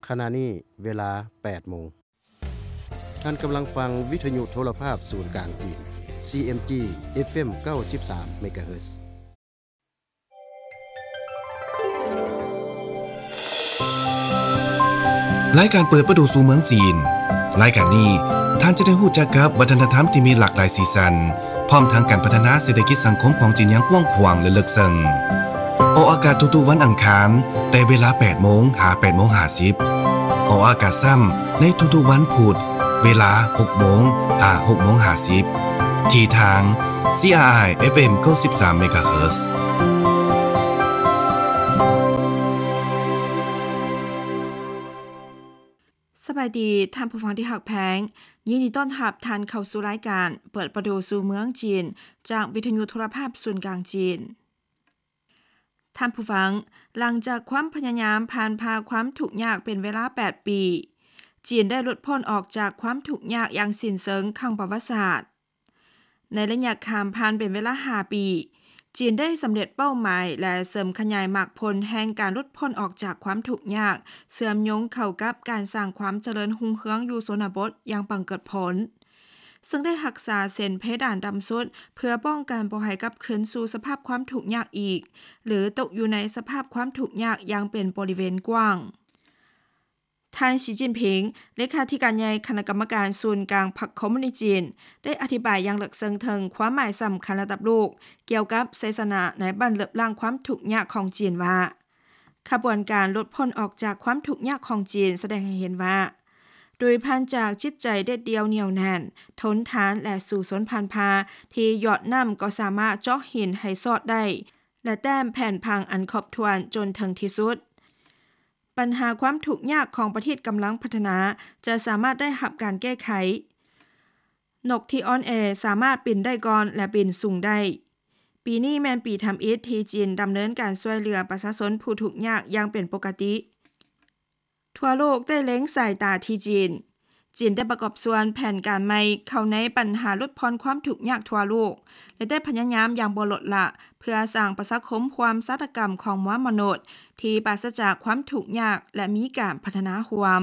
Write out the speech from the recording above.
ຂະນະນີ້ເວລາແປດໂມງ. ທ່ານກຳລັງຟັງວິທະຍຸໂທລະພາບສູນກາງຈີນ ຊີເອັມຈີ ເອັຟເອັມ ເກົ້າສິບສາມ ເມກາເຮີດ. ລາຍການເປີດປະຕູສູ່ເມືອງຈີນ. ລາຍການນີ້ ທ່ານຈະໄດ້ຮູ້ຈັກກັບວັດທະນະທຳທີ່ມີຫຼາກຫຼາຍສີສັນ, ພ້ອມທັງການພັດທະນາເສດຖະກິດສັງຄົມຂອງຈີນຢ່າງກວ້າງຂວາງ ແລະ ເລິກເຊິ່ງ. ອອກອາກາດທຸກໆວັນອັງຄານ ແຕ່ເວລາແປດໂມງຫາແປດໂມງຫ້າສິບ. ອອກອາກາດຊ້ຳໃນທຸກໆວັນພຸດ ເວລາຫົກໂມງຫາຫົກໂມງຫ້າສິບ ທີ່ທາງ ຊີອາໄອ ເອັຟເອັມ ເກົ້າສິບສາມ ເມກາເຮີດ. ສະບາຍດີ ທ່ານຜູ້ຟັງທີ່ຮັກແພງ, ຍິນດີຕ້ອນຮັບທ່ານເຂົ້າສູ່ລາຍການເປີດປະຕູສູ່ເມືອງຈີນ ຈາກວິທະຍຸໂທລະພາບສູນກາງຈີນ. ທ່ານຜູ້ຟັງ, ຫຼັງຈາກຄວາມພະຍາຍາມຜ່ານຜ່າຄວາມທຸກຍາກເປັນເວລາແປດປີ, ຈີນໄດ້ຫຼຸດພົ້ນອອກຈາກຄວາມທຸກຍາກຢ່າງສິ້ນເຊີງຄັ້ງປະຫວັດສາດ. ໃນໄລຍະຂ້າມຜ່ານເປັນເວລາຫ້າປີ, ຈີນໄດ້ສຳເລັດເປົ້າໝາຍ ແລະ ເສີມຂະຫຍາຍໝາກຜົນແຫ່ງການຫຼຸດພົ້ນອອກຈາກຄວາມທຸກຍາກ, ເຊື່ອມໂຍງເຂົ້າກັບການສ້າງຄວາມຈະເລີນຮຸ່ງເຮືອງຢູ່ຊົນນະບົດຢ່າງບັງເກີດຜົນ. ເຊິ່ງໄດ້ຮັກສາເສັ້ນເພດານຕ່ຳສຸດ ເພື່ອປ້ອງກັນບໍ່ໃຫ້ກັບຄືນສູ່ສະພາບຄວາມທຸກຍາກອີກ ຫຼື ຕົກຢູ່ໃນສະພາບຄວາມທຸກຍາກຢ່າງເປັນບໍລິເວນກວ້າງ. ທ່ານ ສີຈິ້ນຜິງ ເລຂາທິການໃຫຍ່ຄະນະກຳມະການສູນກາງພັກຄອມມູນິດຈີນ ໄດ້ອະທິບາຍຢ່າງເລິກເຊິ່ງເຖິງຄວາມໝາຍສຳຄັນລະດັບໂລກ ກ່ຽວກັບໄຊຊະນະໃນບັ້ນເລິບລ້າງຄວາມທຸກຍາກຂອງຈີນວ່າ, ຂະບວນການຫຼຸດພົ້ນອອກຈາກຄວາມທຸກຍາກຂອງຈີນສະແດງໃຫ້ເຫັນວ່າ, ໂດຍຜ່ານຈາກຈິດໃຈເດັດດ່ຽວໜຽວແໜ້ນ, ທົນທານ ແລະ ສູ້ຊົນຜ່ານຜ່າ ທີ່ຢອດນ້ຳກໍສາມາດເຈາະຫີນໃຫ້ຊອດໄດ້ ແລະ ແຕ້ມແຜ່ນຜັງອັນຄອບຖ້ວນຈົນເຖິງທີ່ສຸດ, ບັນຫາຄວາມທຸກຍາກຂອງປະເທດກຳລັງພັດທະນາຈະສາມາດໄດ້ຮັບການແກ້ໄຂ. ນົກທີ່ອ່ອນແອສາມາດບິນໄດ້ກ່ອນ ແລະ ບິນສູງໄດ້. ປີນີ້ແມ່ນປີທຳອິດທີ່ຈີນດຳເນີນການຊ່ວຍເຫຼືອປະຊາຊົນຜູ້ທຸກຍາກຢ່າງເປັນປົກກະຕິ. ທົ່ວໂລກໄດ້ເລັງສາຍຕາທີ່ຈີນ. ຈີນໄດ້ປະກອບສ່ວນແຜນການໃໝ່ເຂົ້າໃນບັນຫາຫຼຸດຜ່ອນຄວາມທຸກຍາກທົ່ວໂລກ ແລະ ໄດ້ພະຍາຍາມຢ່າງບໍ່ລົດລະ ເພື່ອສ້າງປະຊາຄົມຮ່ວມຊາຕະກຳຂອງມວນມະນຸດທີ່ປາສະຈາກຄວາມທຸກຍາກ ແລະ ມີການພັດທະນາຮ່ວມ.